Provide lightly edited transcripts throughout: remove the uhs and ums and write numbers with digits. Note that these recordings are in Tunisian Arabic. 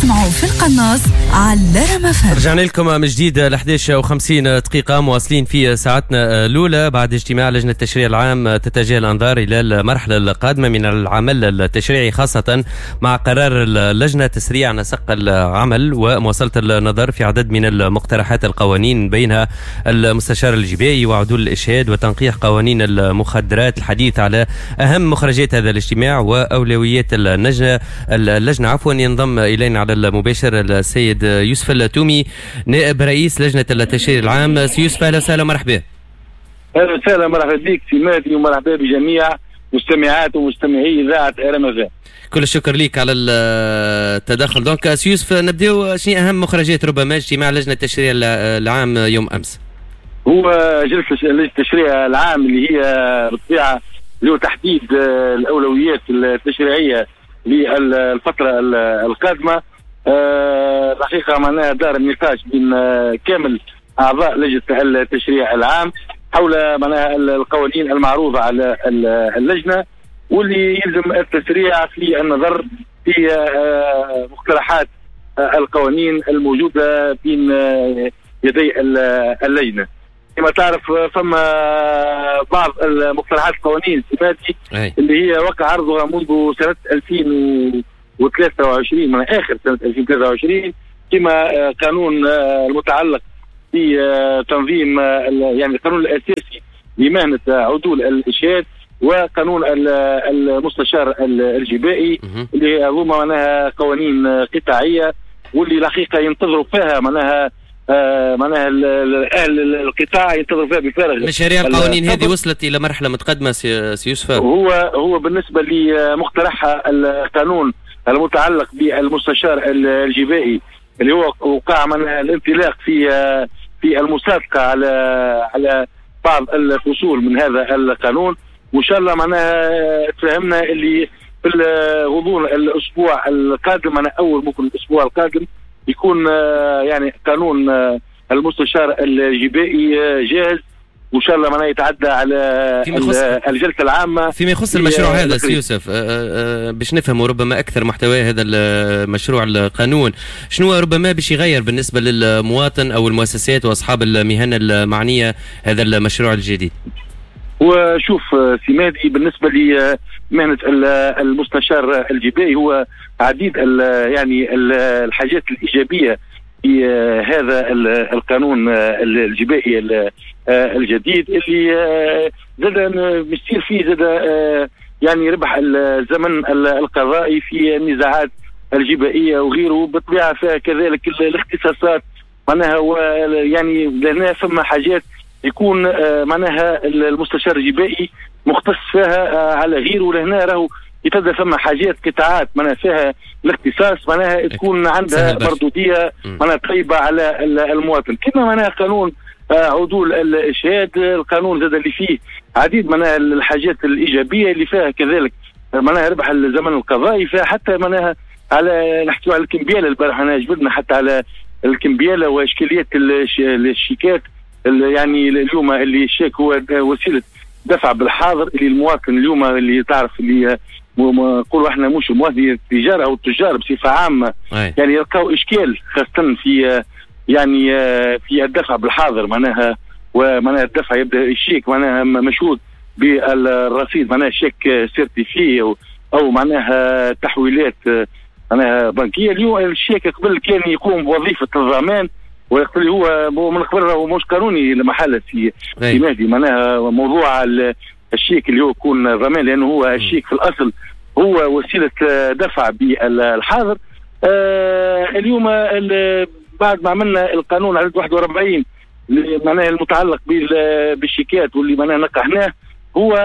تسمعوا في القناص على رام أف أم. رجعنا لكم من جديد ل 11:50 دقيقة، مواصلين في ساعتنا الأولى بعد اجتماع لجنة التشريع العام تتجه الأنظار إلى المرحلة القادمة من العمل التشريعي، خاصة مع قرار اللجنة تسريع نسق العمل ومواصلة النظر في عدد من المقترحات القوانين بينها المستشار الجبائي وعدول الإشهاد وتنقيح قوانين المخدرات. الحديث على أهم مخرجات هذا الاجتماع وأولويات اللجنة ينضم إلينا على المباشر السيد يوسف التومي نائب رئيس لجنة التشريع العام. سي يوسف أهلا وسهلا، مرحبا. أهلا وسهلا، مرحبا بك سي مهدي ومرحبا بجميع مستمعات ومستمعي إذاعة RMF. كل الشكر لك على التدخل. donc سي يوسف، نبداو شنو أهم مخرجات ربما اجتماع لجنة التشريع العام يوم أمس؟ هو جلسة لجنة التشريع العام اللي هي بالطبيعة اللي هو تحديد الأولويات التشريعية للفترة القادمة. الحقيقة معناها دار النقاش بين كامل أعضاء لجنة التشريع العام حول معناها القوانين المعروضة على اللجنة، واللي يلزم التسريع في النظر في مقترحات القوانين الموجودة بين يدي اللجنة. كما تعرف فما بعض المقترحات القوانين السماتي اللي هي وقع عرضها منذ سنة 2023، من آخر سنة 2023، كما قانون المتعلق بتنظيم يعني القانون الأساسي لمهنة عدول الإشهاد وقانون المستشار الجبائي، اللي هما معناها قوانين قطاعية واللي الحقيقة ينتظروا فيها معناها اهل القطاع ينتظروا فيها بفارغ. مشاريع القوانين هذه وصلت الى مرحلة متقدمة سي يوسف؟ هو بالنسبة لمقترح القانون المتعلق بالمستشار الجبائي اللي هو وقع من الانطلاق في المصادقة على بعض الفصول من هذا القانون، وان شاء الله معناها تفهمنا اللي في غضون الاسبوع القادم، معناها اول ممكن الاسبوع القادم يكون يعني قانون المستشار الجبائي جاهز، وان شاء الله معناها يتعدى على الجلسة العامة. فيما يخص المشروع هذا سي يوسف، باش نفهموا ربما اكثر محتوى هذا المشروع القانون، شنو ربما باش يغير بالنسبة للمواطن او المؤسسات واصحاب المهن المعنية هذا المشروع الجديد؟ وشوف سي مهدي، بالنسبة لمهنه المستشار الجبائي هو عديد يعني الحاجات الايجابية في هذا القانون الجبائي الجديد اللي زاد مستير فيه زاد يعني ربح الزمن القضائي في النزاعات الجبائيه وغيره، بالطبيعة فيها كذلك الاختصاصات معناها، يعني لهنا فما حاجات يكون معناها المستشار الجبائي مختص فيها على غيره، لهنا راهو يتبدا فما حاجات قطاعات معناها فيها الاختصاص معناها تكون عندها مردوديه معناها طيبة على المواطن. كما معناها قانون عدول الاشهاد، القانون زاد اللي فيه عديد معناها الحاجات الايجابية اللي فيها كذلك معناها ربح الزمن القضائي، فيها حتى معناها على نحكيو على الكمبياله، البارح انا جبدنا حتى على الكمبياله واشكاليات الشيكات، يعني اليوم اللي الشيك هو وسيلة دفع بالحاضر اللي المواطن اليوم اللي تعرف اللي نقولوا احنا مش المواطن، التجارة او التجار بصفة عامة يعني يلقاو اشكال خاصة في يعني في الدفع بالحاضر، معناها ومعناها الدفع يبدا الشيك معناها مشهود بالرصيد، معناها شيك certifié او معناها تحويلات معناها بنكيه. اليوم الشيك قبل كان يقوم بوظيفة الضمان، ويقول هو من قبل هو مش قانوني لمحله في مهدي، معناها موضوع الشيك اللي هو يكون ضمان، لانه هو الشيك في الاصل هو وسيلة دفع بالحاضر. اليوم بعد ما عملنا القانون عدد 41 معناها المتعلق بالشيكات واللي معناها نقحناه، هو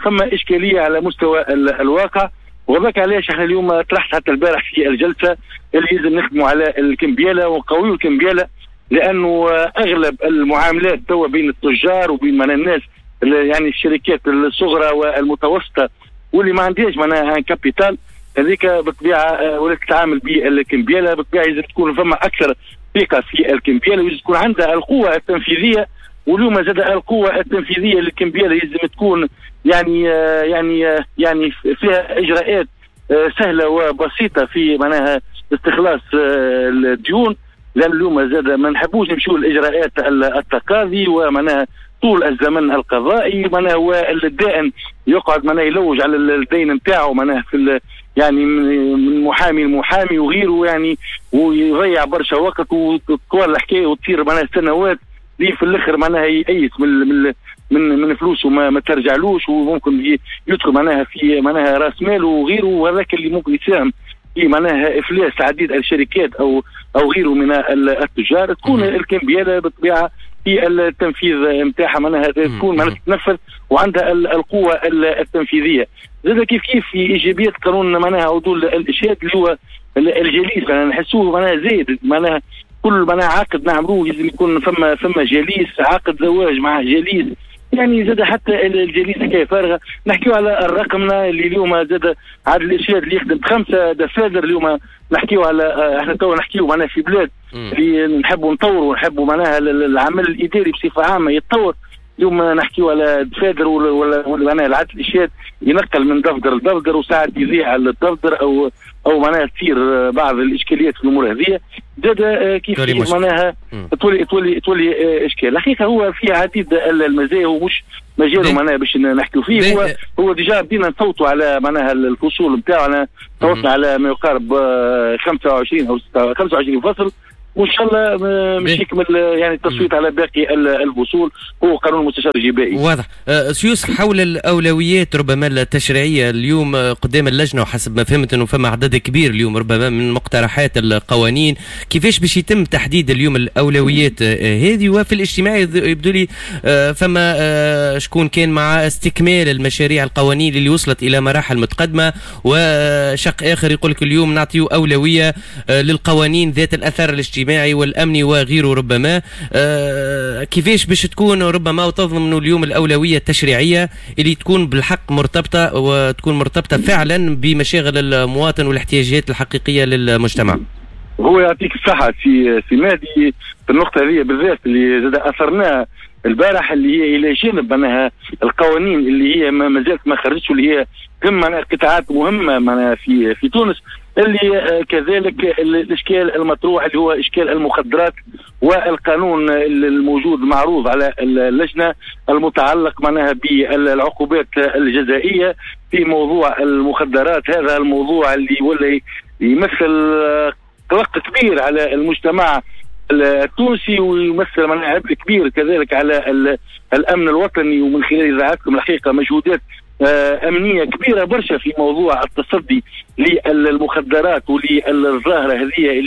ثم اشكالية على مستوى الواقع، وذاك علاش احنا اليوم طرحت حتى البارح في الجلسة اللي لازم نخدموا على الكمبياله ونقويوا الكمبياله، لانه اغلب المعاملات توا بين التجار وبين معناها الناس يعني الشركات الصغرى والمتوسطة واللي ما عندهاش معناها capital، هذيك بالطبيعة ولات تتعامل بالكمبياله. بالطبيعة لازم تكون فما اكثر ثقة في الكمبياله، ولازم تكون عندها القوة التنفيذية، واليوم زاد القوة التنفيذية للكمبياله لازم تكون يعني يعني يعني فيها اجراءات سهلة وبسيطة في معناها استخلاص الديون، لان اليوم زاد ما نحبوش نمشيو لاجراءات التقاضي ومعناها طول الزمن القضائي، معناها والدائن يقعد معناها يلوج على الدين نتاعو معناها في يعني من محامي لمحامي وغيره، يعني ويضيع برشا وقت وتطول الحكاية وتصير معناها سنوات ليه في الاخر معناها يأيس من من من فلوسه ما ترجعلوش، وممكن يدخل معناها في معناها راس ماله وغيره، وهذاك اللي ممكن يساهم في معناها افلاس عديد الشركات او غيره من التجار. تكون الكمبياله بالطبيعة في التنفيذ نتاعها معناها تكون معناها تتنفذ وعندها القوة التنفيذية. زاد كيف كيف في ايجابيات قانون معناها عدول الاشهاد اللي هو الجليس، معناها نحسوه معناها زايد، معناها كل معناها عقد نعملوه لازم يكون فما جليس، عقد زواج مع جليس، يعني زاد حتى الجليس حكاية فارغة. نحكيو على الرقمنه اللي اليوم زاد عدل الاشهاد اللي يخدم ب5 دفاتر. اليوم نحكيو على احنا تو نحكيو معناها في بلاد اللي نحبوا نطوروا ونحبوا معناها العمل الاداري بصفة عامة يتطور. اليوم نحكيو على دفاتر ولا معناها العدل الاشهاد ينقل من دفتر لدفتر وساعات يضيع على الدفتر او معناها تصير بعض الاشكاليات في الامور هذه. زاد كيف معناها تولي اشكال. الحقيقة هو في عديد المزايا ومش مجاله معناها باش نحكيو فيه. هو déjà بدينا نصوتوا على معناها الفصول نتاعنا، صوتنا على ما يقارب 25 او 25 فصل، وان شاء الله مش يكمل يعني التصويت على باقي الفصول. هو قانون المستشار الجبائي. واضح. سيوسف، حول الاولويات ربما التشريعية اليوم قدام اللجنة، وحسب ما فهمت انه فما عدد كبير اليوم ربما من مقترحات القوانين، كيفاش باش يتم تحديد اليوم الاولويات هذه؟ وفي الاجتماع يبدو لي فما شكون كان مع استكمال المشاريع القوانين اللي وصلت الى مراحل متقدمة، وشق اخر يقول لك اليوم نعطيو اولوية للقوانين ذات الاثر الاجتماعي والامني وغيره. ربما كيفاش باش تكون ربما وتضمنوا اليوم الاولوية التشريعية اللي تكون بالحق مرتبطة وتكون مرتبطة فعلا بمشاغل المواطن والاحتياجات الحقيقية للمجتمع؟ هو يعطيك الصحة سي مهدي في النقطة هذه بالذات اللي زاد اثرناها البارح، اللي هي الى جانب معناها القوانين اللي هي ما زالت ما خرجتش واللي هي تهم معناها قطاعات مهمة معناها في تونس، اللي كذلك الاشكال المطروح اللي هو اشكال المخدرات والقانون الموجود معروض على اللجنة المتعلق معناها بالعقوبات الجزائيه في موضوع المخدرات. هذا الموضوع اللي ولا يمثل قلق كبير على المجتمع التونسي ويمثل معناها عبء كبير كذلك على الامن الوطني، ومن خلال اذاعتكم الحقيقة مجهودات أمنية كبيرة برشا في موضوع التصدي للمخدرات وللظاهرة هذه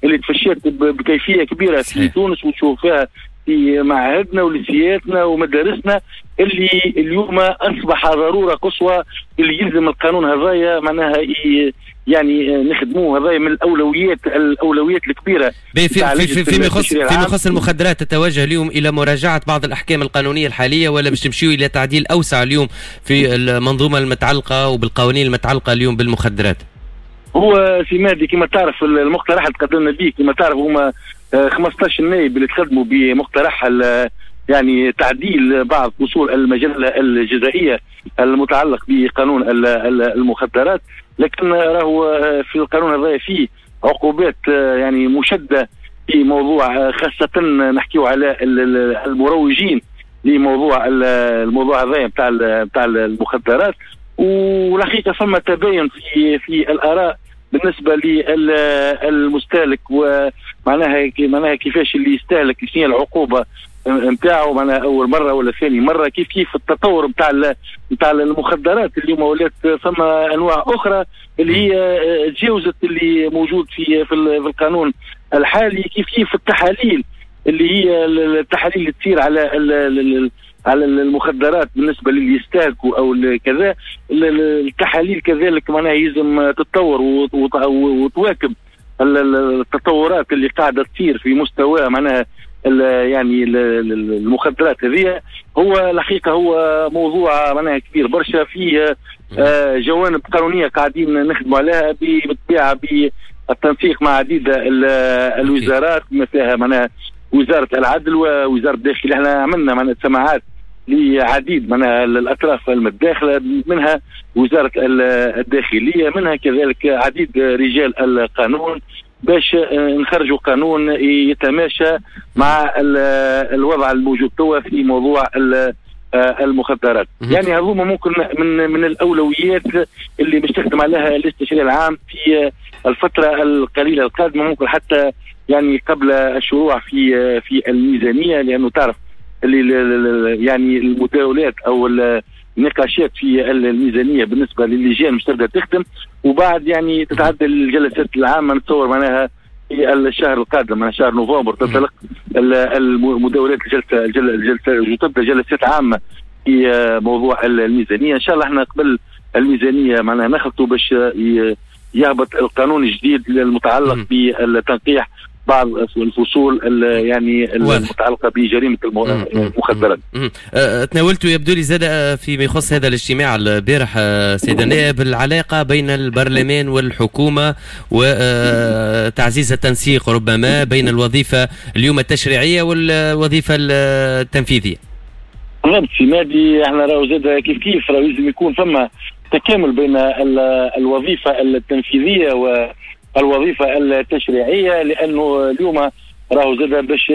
اللي تفشت بكيفية كبيرة في تونس، وتشوفها في معاهدنا ولسياتنا ومدارسنا، اللي اليوم أصبح ضرورة قصوى اللي يلزم القانون هذايا معناها يعني نخدموه. هذايا من الاولويات الكبيرة. في يخص المخدرات، تتوجه اليوم الى مراجعه بعض الاحكام القانونية الحالية، ولا باش تمشيو الى تعديل اوسع اليوم في المنظومة المتعلقة وبالقوانين المتعلقة اليوم بالمخدرات؟ هو سي مهدي كما تعرف المقترح اللي تقدمنا به، كما تعرف هما 15 نائب اللي تقدموا بمقترح يعني تعديل بعض فصول المجلة الجزائيه المتعلق بقانون المخدرات، لكن راهو في القانون هذا فيه عقوبات يعني مشددة في موضوع، خاصة نحكيو على المروجين لموضوع الموضوع هذا نتاع المخدرات. والحقيقة فما تباين في الاراء بالنسبة للمستهلك، ومعناها كيفاش اللي يستهلك شنو العقوبة نتاعو، معناها اول مرة ولا ثاني مرة، كيف التطور نتاع المخدرات اليوم ولات فما انواع اخرى اللي هي تجاوزت اللي موجود في القانون الحالي، كيف التحاليل اللي هي التحاليل اللي تصير على المخدرات بالنسبة للي يستهلكوا او كذا، التحاليل كذلك معناها يلزم تتطور وتواكب التطورات اللي قاعدة تصير في مستوى معناها يعني المخدرات هذه. هو الحقيقة هو موضوع معناها كبير برشا، فيه جوانب قانونية قاعدين نخدموا عليها بالطبيعة بالتنسيق مع عديد الوزارات، بما فيها معناها وزارة العدل ووزارة الداخلية. احنا عملنا معناها سماعات لعديد من الأطراف المتداخلة، منها وزارة الداخلية، منها كذلك عديد رجال القانون، باش نخرجوا قانون يتماشى مع الوضع الموجود توا في موضوع المخدرات. يعني هذوما ممكن من الأولويات اللي باش تخدم عليها الاستشاري العام في الفترة القليلة القادمة، ممكن حتى يعني قبل الشروع في الميزانية، لأنه تعرف اللي يعني المداولات أو النقاشات في الميزانية بالنسبة للجان مش تبدأ تخدم، وبعد يعني تتعدل الجلسات العامة نتصور معناها في الشهر القادم، معناها شهر نوفمبر تنطلق المداولات الجلسة وتبدأ جلسات عامة في موضوع الميزانية. إن شاء الله احنا قبل الميزانية معناها نخلطوا باش يهبط القانون الجديد المتعلق بالتنقيح بعض الفصول يعني المتعلقة بجريمة المخدرات. تناولت يبدو لي زاد فيما يخص هذا الاجتماع البارح سيد النائب العلاقة بين البرلمان والحكومة وتعزيز التنسيق ربما بين الوظيفة اليوم التشريعية والوظيفة التنفيذية. بالضبط سي مادي، احنا راهو زاد كيف كيف راهو لازم يكون فما تكامل بين الوظيفة التنفيذية والوظيفة التشريعية، لأنه اليوم راهو زاد باش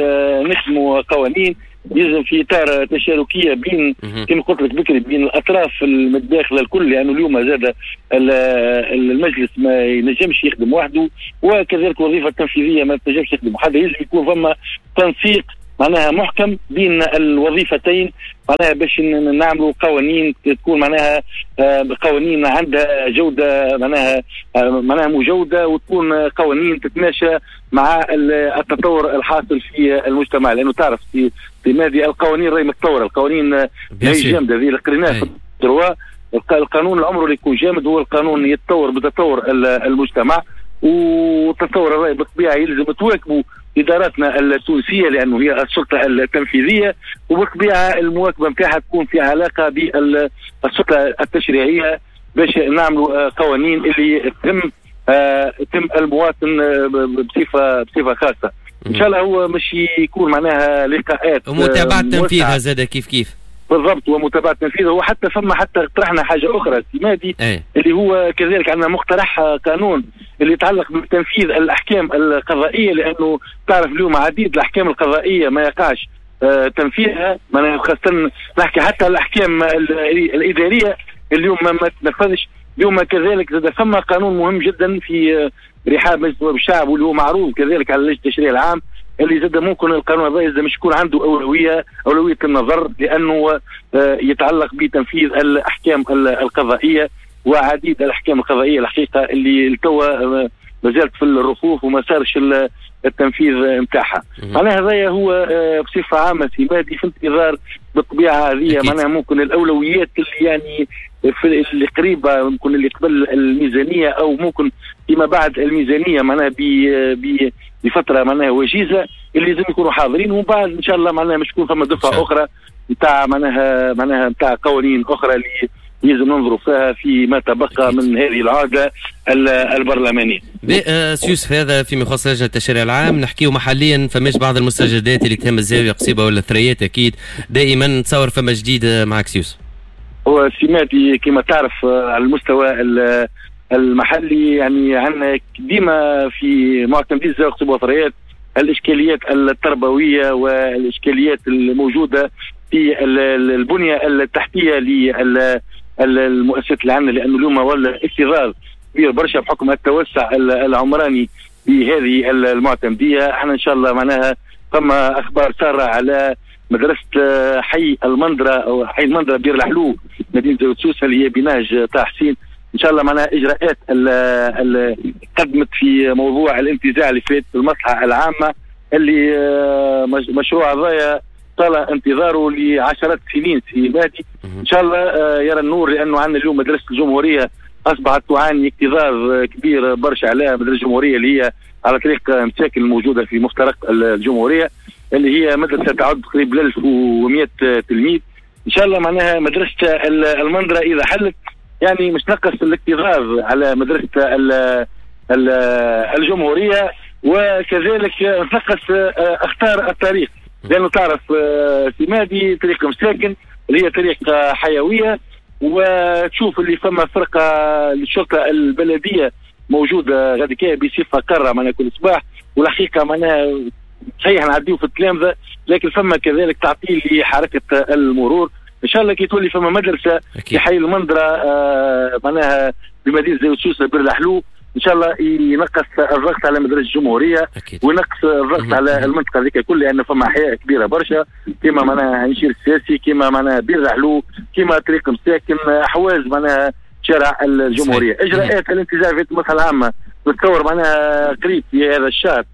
نخدموا قوانين يلزم في إطار تشاركية بين كما قلت لك بكري بين الأطراف المتداخلة الكل، لأنه اليوم زاد المجلس ما ينجمش يخدم وحده، وكذلك الوظيفة التنفيذية ما تنجمش تخدم وحدها، يلزم يكون فما تنسيق معناها محكم بين الوظيفتين، معناها باش نعملوا قوانين تكون معناها قوانين عندها جودة، معناها مجودة، وتكون قوانين تتماشى مع التطور الحاصل في المجتمع، لأنه تعرف في ماضي القوانين راهي متطورة، القوانين ماهيش جامدة، هذه اللي قريناها في الدروا، القانون العمر اللي يكون جامد هو القانون يتطور بتطور المجتمع، وتطور الرأي بالطبيعة يلزم تواكبوا إداراتنا التونسية لأنه هي السلطة التنفيذية، وبالطبيعة المواكبة نتاعها تكون في علاقة بالسلطة التشريعية باش نعملوا قوانين اللي تم المواطن بصفة خاصة. إن شاء الله هو مش يكون معناها لقاءات ومتابعة تنفيذها زاد كيف كيف. بالضبط، ومتابعة تنفيذها، وحتى فما حتى طرحنا حاجة أخرى سي مادي اللي هو كذلك عندنا مقترح قانون اللي يتعلق بتنفيذ الأحكام القضائية، لأنه تعرف اليوم عديد الأحكام القضائية ما يقعش تنفيذها، خاصة نحكي حتى الأحكام الإدارية اليوم ما تنفذش. اليوم كذلك زاد فما قانون مهم جدا في رحاب مجلس نواب الشعب واللي هو معروض كذلك على لجنة التشريع العام، اللي زاد ممكن القانون هذا زاد مش يكون عنده أولوية النظر، لأنه يتعلق بتنفيذ الأحكام القضائية، وعديد الأحكام القضائية الحقيقة اللي توا ما زالت في الرفوف وما صارش التنفيذ نتاعها. معناها هذايا هو بصفة عامة سي مادي في انتظار بالطبيعة هذه معناها ممكن الأولويات اللي يعني في اللي قريبة، ممكن اللي قبل الميزانية أو ممكن فيما بعد الميزانية، معناها بفترة معناها وجيزة اللي لازم يكونوا حاضرين، ومن بعد إن شاء الله معناها مش تكون فما دفعة أخرى نتاع معناها نتاع قوانين أخرى اللي لازم ننظروا فيها فيما تبقى من هذه العادة البرلمانية. سيوسف، هذا فيما يخص لجنة التشريع العام. نحكيو محليا فماش بعض المستجدات اللي تهم الزاوية قصيبة ولا الثريات، أكيد دائما نتصور فما جديد معك سيوسف. هو سماتي كما تعرف على المستوى المحلي يعني عندنا ديما في معتمدي الزاوية قصيبة والثريات الإشكاليات التربوية والإشكاليات الموجودة في البنية التحتية للمؤسسات اللي عندنا، لأنه اليوم ولا اكتظاظ كبير برشا بحكم التوسع العمراني بهذه المعتمدية. احنا إن شاء الله معناها فما أخبار سارة على مدرسة حي المندرة أو حي المندرة بير الحلو مدينة زاوية سوسة اللي هي بنهج طه حسين. إن شاء الله معناها إجراءات اللي قدمت في موضوع الانتزاع اللي فات المصلحة العامة اللي مشروع هذايا طال انتظاره لعشرات السنين سي مادي، إن شاء الله يرى النور، لأنه عندنا اليوم مدرسة الجمهورية أصبحت تعاني اكتظاظ كبير برشا عليها. مدرسة الجمهورية اللي هي على طريق مساكن الموجودة في مفترق الجمهورية اللي هي مدرسة تعد قريب 1100 تلميذ. إن شاء الله معناها مدرسة المندرة إذا حلت يعني مش نقص الاكتظاظ على مدرسة الجمهورية، وكذلك نقص أخطار الطريق. لانه تعرف سمادي طريق مساكن اللي هي طريق حيوية، وتشوف اللي فما فرقه للشرطة البلدية موجودة غادي بصفة قارة معناها كل صباح، والحقيقة معناها صحيح نعديو في التلامذه، لكن فما كذلك تعطيل لحركة المرور. ان شاء الله كي تولي فما مدرسه في حي المندره معناها بمدينة زاوية سوسة بير الحلو، ان شاء الله ينقص الضغط على مدرسه الجمهورية وينقص الضغط على المنطقة هذيك الكل، لان فما احياء كبيرة برشا كما معناها هنشير السياسي، كما معناها بير الحلو، كما طريق مساكن، احواز معناها شارع الجمهورية. اجراءات الانتزاع في المصلحة العامة نتصور معناها قريب في هذا الشهر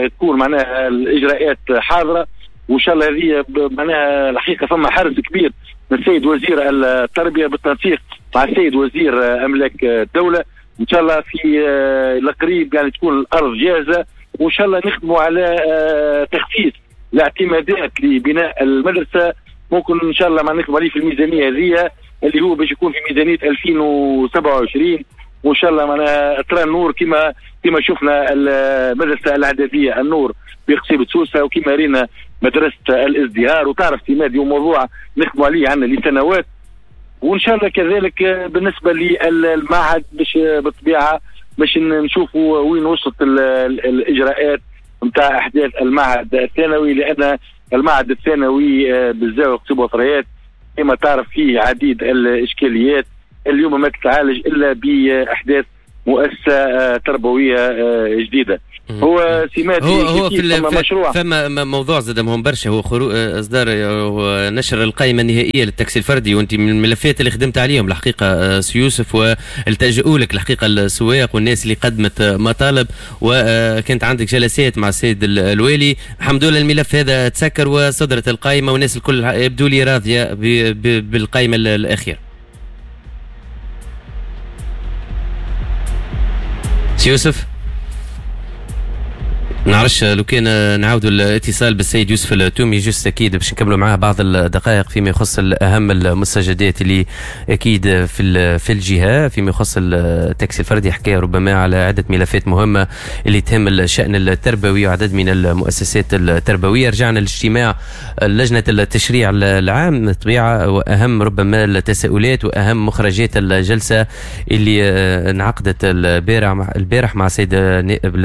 تكون معناها الاجراءات حاضره، وان شاء الله هذه معناها الحقيقة فما حرص كبير من السيد وزير التربية بالتنسيق مع السيد وزير املاك الدولة. ان شاء الله في القريب يعني تكون الارض جاهزة، وان شاء الله نخدموا على تخصيص الاعتمادات لبناء المدرسة. ممكن ان شاء الله ما نخدموا عليه في الميزانية هذه اللي هو باش يكون في ميزانية 2027، وان شاء الله معناها ترى النور كما شفنا المدرسة الاعدادية النور بقصيبه سوسة، وكما رينا مدرسه الازدهار، وتعرف سمادي وموضوع نخدموا عليه عندنا لسنوات. وان شاء الله كذلك بالنسبة للمعهد باش بالطبيعة باش نشوفوا وين وصلت الاجراءات نتاع احداث المعهد الثانوي، لان المعهد الثانوي بالزاوية قصيبه وثريات كما تعرف فيه عديد الاشكاليات اليوم ما تتعالج الا باحداث مؤسسة تربوية جديدة. هو سمات هو في مشروع فما موضوع زاد مهم برشا، هو اصدار نشر القائمة النهائية للتاكسي الفردي، وانت من الملفات اللي خدمت عليهم الحقيقة سي يوسف، والتجؤوا لك الحقيقة السواق والناس اللي قدمت مطالب، وكانت عندك جلسات مع السيد الوالي. الحمد لله الملف هذا تسكر وصدرت القائمة، والناس الكل يبدو لي راضية بالقائمه الاخيرة. سي يوسف، نعرفش لو كان نعاودوا الاتصال بالسيد يوسف التومي juste اكيد باش نكملوا معاه بعض الدقائق فيما يخص اهم المستجدات اللي اكيد في الجهة فيما يخص التاكسي الفردي. حكى ربما على عده ملفات مهمة اللي تهم الشان التربوي وعدد من المؤسسات التربوية. رجعنا لاجتماع لجنة التشريع العام بالطبيعة، واهم ربما التساؤلات واهم مخرجات الجلسة اللي انعقدت البارح مع السيد نائب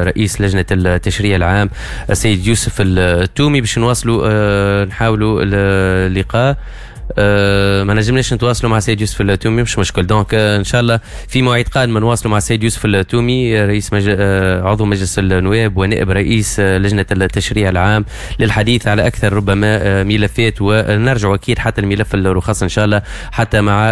رئيس لجنة التشريع العام السيد يوسف التومي باش نواصلوا نحاولوا اللقاء. ما نجمناش نتواصلوا مع السيد يوسف التومي، مش مشكل. donc ان شاء الله في مواعيد قادمة نواصلوا مع السيد يوسف التومي رئيس عضو مجلس النواب ونائب رئيس لجنة التشريع العام للحديث على اكثر ربما ملفات، ونرجع اكيد حتى الملف الرخص ان شاء الله حتى مع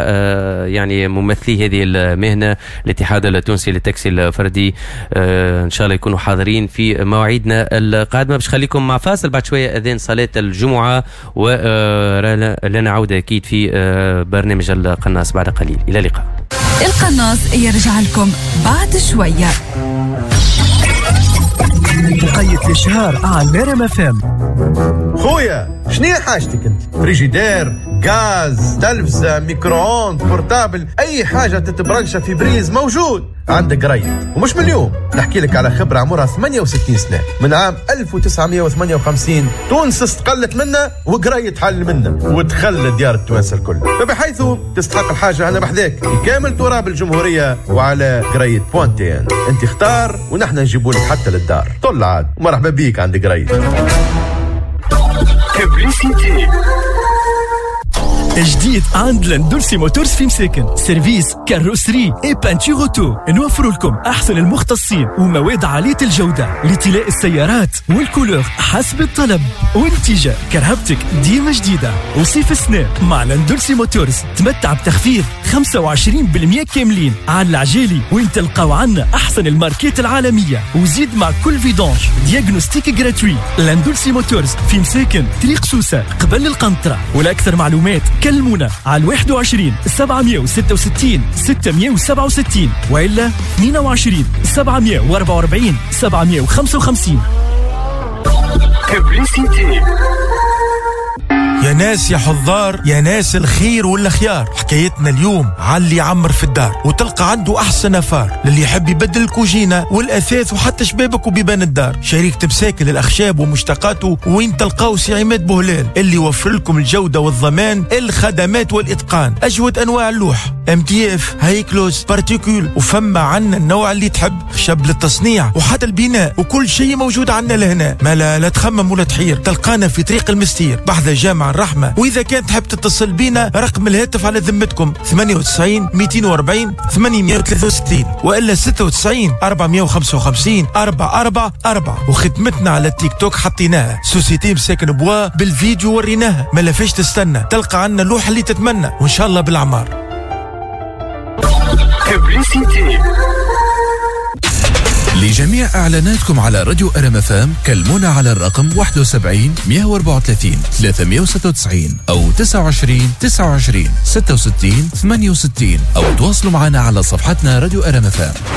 يعني ممثلي هذه المهنة الاتحاد التونسي للتاكسي الفردي، ان شاء الله يكونوا حاضرين في مواعيدنا القادمة. باش خليكم مع فاصل بعد شوية اذان صلاة الجمعة، ولنا عوده أكيد في برنامج القناص بعد قليل. إلى اللقاء. القناص يرجع لكم بعد شوية. وقيت الإشهار على نرم FM. خويا شنو حاجتك انت؟ فريجيدير، غاز، تلفزة، micro-ondes، portable، اي حاجة تتبرنشة في prise موجود عندك قريب. ومش من اليوم نحكي لك على خبرة عمرها 68 سنة، من عام 1958 تونس استقلت منا وقريت حل منا ودخل ديار التوانسة الكل، فبحيث تستحق الحاجة أنا بحذاك في كامل تراب الجمهورية وعلى قريت point tn. انت اختار ونحن نجيبوا لك حتى للدار. طل عاد ومرحبا بيك عند قريت. جديد عند لندولسي موتورز في مساكن، service carrosserie et peinture auto. نوفر لكم احسن المختصين ومواد عالية الجودة لطلاء السيارات وال couleur حسب الطلب، ونتيجة كرهبتك ديما جديدة. وصيف السنة مع لندولسي موتورز تمتع بتخفيض 25% كاملين على العجالي، وين تلقاو عنا احسن الماركات العالمية، وزيد مع كل vidange diagnostic gratuit. لندولسي موتورز في مساكن، طريق سوسة قبل القنطرة. ولاكثر معلومات كلمونا على 21 766 667 وإلا 22 744 755. يا ناس يا حضار، يا ناس الخير والخيار، حكايتنا اليوم على اللي يعمر في الدار وتلقى عنده احسن affaire، للي يحب يبدل الكوجينه والاثاث وحتى شبابك وبيبان الدار. شركة مساكن للاخشاب ومشتقاته وين تلقاو سي عماد بوهلال اللي يوفر لكم الجودة والضمان، الخدمات والاتقان، اجود انواع اللوح، MDF، high gloss، particule، وفما عنا النوع اللي تحب، خشب للتصنيع وحتى البناء، وكل شيء موجود عنا لهنا. ما لا, لا تخمم ولا تحير، تلقانا في طريق المستير بحذا جامع الرحمة. وإذا كان تحب تتصل بينا رقم الهاتف على ذمتكم 98 240 863 وإلا 96 455 444. وخدمتنا على التيك توك حطيناها société مساكن bois بالفيديو وريناها، ما لفاش تستنى، تلقى عنا اللوحة اللي تتمنى وإن شاء الله بالأعمار. لجميع إعلاناتكم على راديو RMFM كلمونا على الرقم 71 134 396 أو 29 29 66 68 أو تواصلوا معنا على صفحتنا راديو RMFM.